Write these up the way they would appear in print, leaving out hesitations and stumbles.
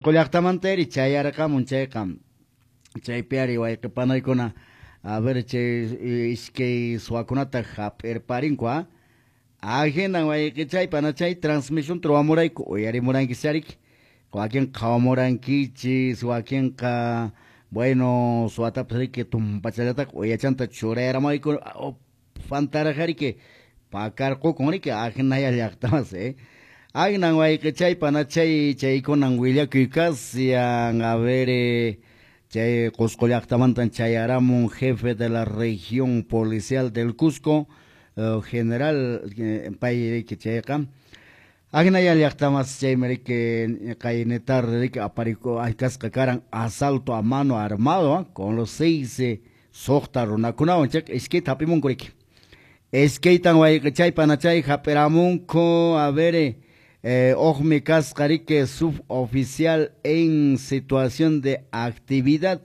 Llaqtamanta chayarqamun chayqa chaypi ari wayqi panaykuna a ver chay iskay suwakunata hap'irparinku ahinan wayqichay panachay transmisión ruwamurayku uyarimurankichis ariki wakinqa qhawamurankichis wakinqa bueno suwatapas riki tumpachallataqa uyachanta churayaramayku fantaraq riki pakarqukun riki ahinaya llaqtamas Ahinan wayqichay panachay chaykunan willakuy kashan a ver chay Cusco llaqtamantan chayaramun jefe de la región policial del Cusco general pay riki chayqa ahinaya llaqtamas chaymi riki qaynitar riki apariku kasqa karan asalto a mano armado con los 6 suqta runakunawan chayqa iskayta hap'imunku riki iskaytan wayqichay panachay hap'iramunku a ver Ojmi kasqa riki suboficial en situación de actividad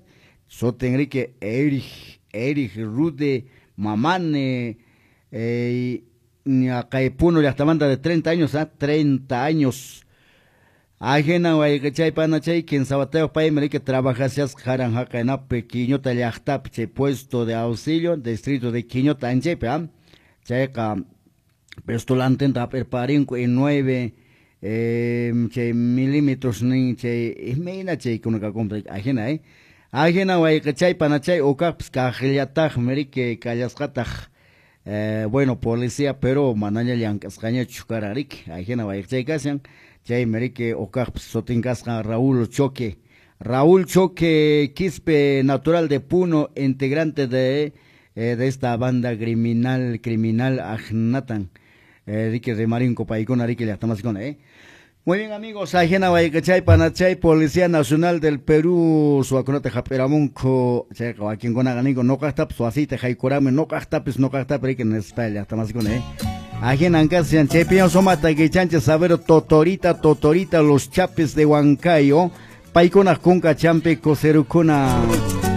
sutin riki Erich Rude Mamane kay Puno llaqtamanta de 30 años 30 años ahinan wayqichay panachay kinsa watayuq paymi riki trabajashasqa karan haqaynapi Quiñota llaqtapi chay puesto de auxilio distrito de Quiñota anchaypi chayqa pistolantinta hap'irparinku y 9 chay milímetros nin chay imayna chaykuna kakunpas ahina ahina wayqichay panachay ukaqpas kaqllataqmi riki kallasqataq bueno policía pero manaña llank'asqañachu karan riki ahina wayqichay kashan chaymi riki ukaqpas sutin kasqa Raúl Choque Quispe natural de Puno integrante de esta banda criminal ahnatan riki rimarinku paykuna riki llaqtamasikuna Muy bien amigos, ahina wayqichay panachay Policía Nacional del Perú suwakunata hap'iramunku chayqa wakinkunaqa ninku nuqaqtapas wasiyta haykurami nuqaqtapis riki nispa llaqtamasikuna ahinan kashan chaypiña sumata kichanchis saber Totorita los Chapis de Huancayo paykunaq kunka champi kuserukuna.